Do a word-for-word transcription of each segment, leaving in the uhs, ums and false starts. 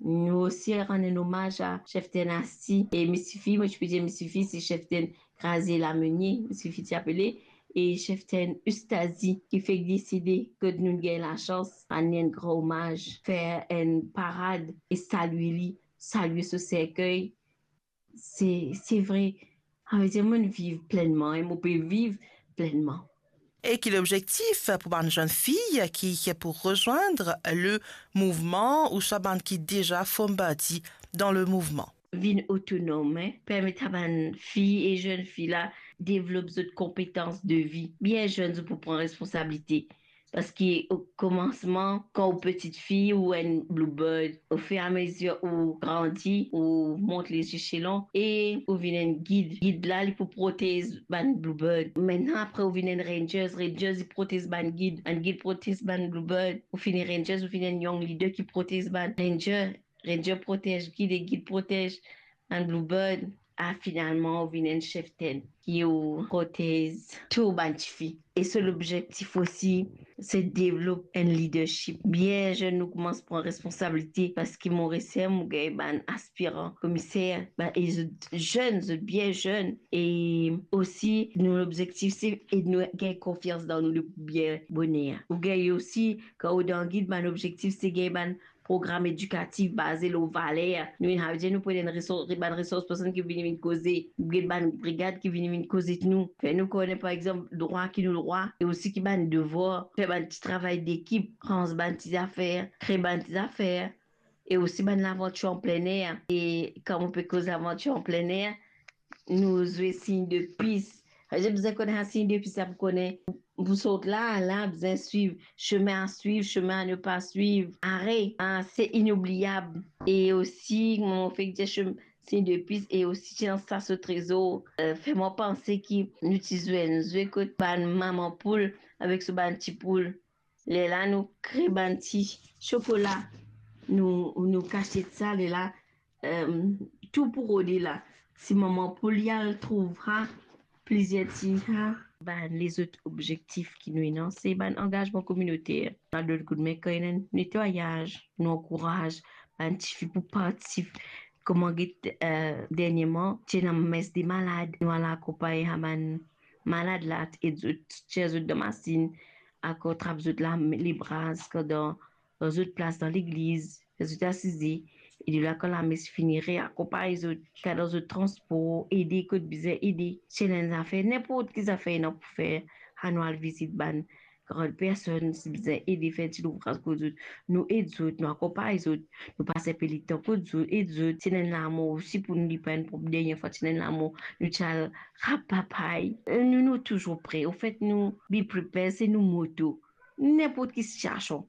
Nou osi rann enn omaz a Cheftaine Asti e Misifi, mo ti pe dir Misifi, se Cheftaine Grazier Lamenie, Misifi ti apele, e Cheftaine Ustazi, ki fek desede, kot nou gagn lasans rann li enn gran omaz, fer enn parad e salie li, salie so serkey. Se, se vre, savedir mo viv plennman e mo pe viv plennman. E ki lobzektif pou bann zenn fi ki, ki pou rezwinn le mouvman ouswa bann ki deza form parti dan le mouvman? Vinn otonom, eh, permet a bann fi e zenn fi la devlop zot konpetans de vi. Bien zenn, zot pou pran responsabilite. Paski o komansman, kan ou pitit fi, ou enn bluebird, ofiramezir ou grandi, ou mont les échelons e ou vinn enn gid. Gid la, li pou protez bann bluebird. Mintnan, apre, ou vinn enn rangers. Rangers, li protez bann gid. Bann gid protez bann bluebird. Ou fini rangers, ou vinn enn young leader ki protez bann ranger. Ranger protez gid e gid protez bann bluebird. A, finalman, ou vinn enn cheftaine ki ou protez tou bann tifi. E so lobzektif osi, se devlop enn leadership. Bien zenn, nou koumans pran responsabilite, paski mo reser, mo gagn bann aspiran komiser, bann, e zot zenn, zot bien zenn. E osi, nou lobzektif, se ed nou gagn konfians dan nou, le bien boner. Ou gagn osi, kan ou dan gid, bann lobzektif, se gagn bann program edikatif baze lor valer. Nou inn, savedir nou pou ena enn resor-, bann resors person ki vini vinn koze, get bann brigad ki vini vinn koze ek nou, fer nou kone, par exanp, drwa ki nou drwa, e osi ki bann devwar, fer bann ti travay dekip, rans bann ti zafer, kre bann ti zafer, e osi bann lavantir an plener. E kan mo pe koz lavantir an plener, nou zwe sign de pis. Savedir bizin kone sa sign de pis la pou kone pou sort la, la, bizin swiv, chemin à suivre, chemin à ne pas suivre. Are, ah, se inoubliab. E osi, mo fek dir chem-, sign de pis, e osi ti dan sa so trezor. Euh, fer mwa panse ki nou ti zwe, nou zwe kot bann mama poul avek so bann ti poul. Lerla nou kre bann ti sokola, nou, nou kasiet sa, lerla, euh, tou pou rode la. Si mama poul li al trouv sa, plizier ti sa. Bann lezot obzektif ki nou ena, se bann angazman kominoter. Bann lot koudme, kan ena netwayaz, nou ankouraz bann tifi pou partisip. Kouma get, euh, dernieman, ti ena mes de malad, nou al akonpagn sa bann malad la, ed zot, tir zot dan masinn, ankor trap zot la, lebras, kan dan, dan zot plas dan legliz, fer zot asize, e de la kan lames fini, reakonpagn zot, kan dan zot transpor, ede kot bizin ede. Si ena enn zafer, ninport ki zafer ena pou fer, anou al vizit bann gran personn, si bizin ede fer ti louvraz kot zot, nou ed zot, nou akonpagn zot, nou pas enpe letan kot zot, ed zot. Si ena enn lamor osi pou nou, li pa enn prob, dernie fwa ti ena enn lamor, nou ti al rap papay. Nou, nou touzour pre. Anfet, nou be prepared, se nou moto. Ninport ki sitiasion,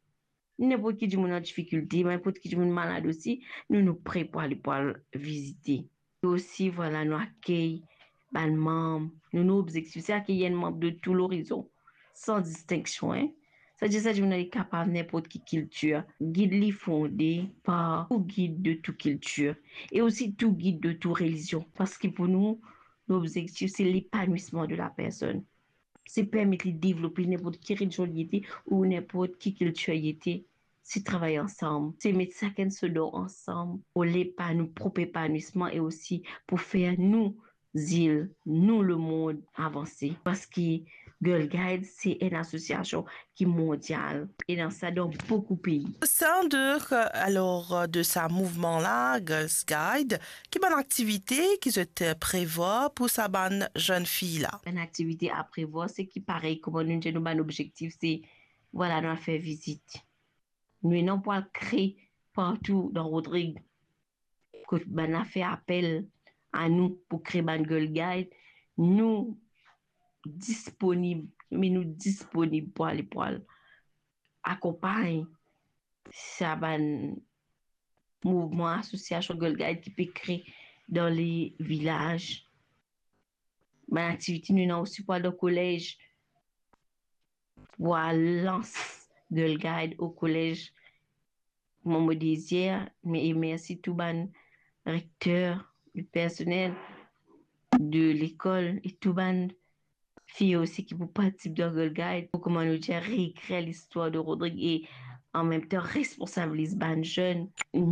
ninport ki dimoun an difikilte, ninport ki dimoun malad osi, nou, nou pre pou ale, pou al vizite. E osi, vwala, nou akey bann manm. Nou, nou obzektif, se akey enn manm de tou lorizon, san distinksion, hein. Savedir sa dimoun la li kapav ninport ki kiltir. Gid li fonde par tou gid de tou kiltir e osi tou gid de tou relizion. Paski pou nou, nou obzektif, se lepanwisman de la personn. Se permet li devlope ninport ki relizion li ete ou ninport ki kiltir li ete. Se travay ansam, se met sakenn so dan ansam pou lepa-, nou prop epanwisman e osi pou fer nou zil, nou lemond avanse. Paski Girl Guide, se enn asosiasion ki mondial, e ena sa dan boukou pei. Au sein de, euh, alors, euh, de sa mouvman la, Girls Guide, ki bann aktivite ki zot, euh, prevwar pou sa bann zenn fi la? Bann aktivite a prevwar, se ki parey, kouma nou dir, nou bann obzektif, se, vwala, nou al fer vizit. Nou ena pou al kre partou dan Rodrig. Kot bann la fer apel a nou pou kre bann Girl Guide, nou disponib, me nou disponib pou ale, pou al akonpagn sa bann mouvman, asosiasion Girl Guide ki pe kre dan le vilaz. Bann aktivite nou ena osi pou al dan kolez, pou al lans Girl Guide o kolez. Mo, mo dezir, me, e mersi tou bann rekter, le personel de lekol e tou bann fi osi ki pou partisip dan Girl Guide, pou, kouma nou dir, reekrir listwar de Rodrig e an mem tan responsabiliz bann zenn. Nou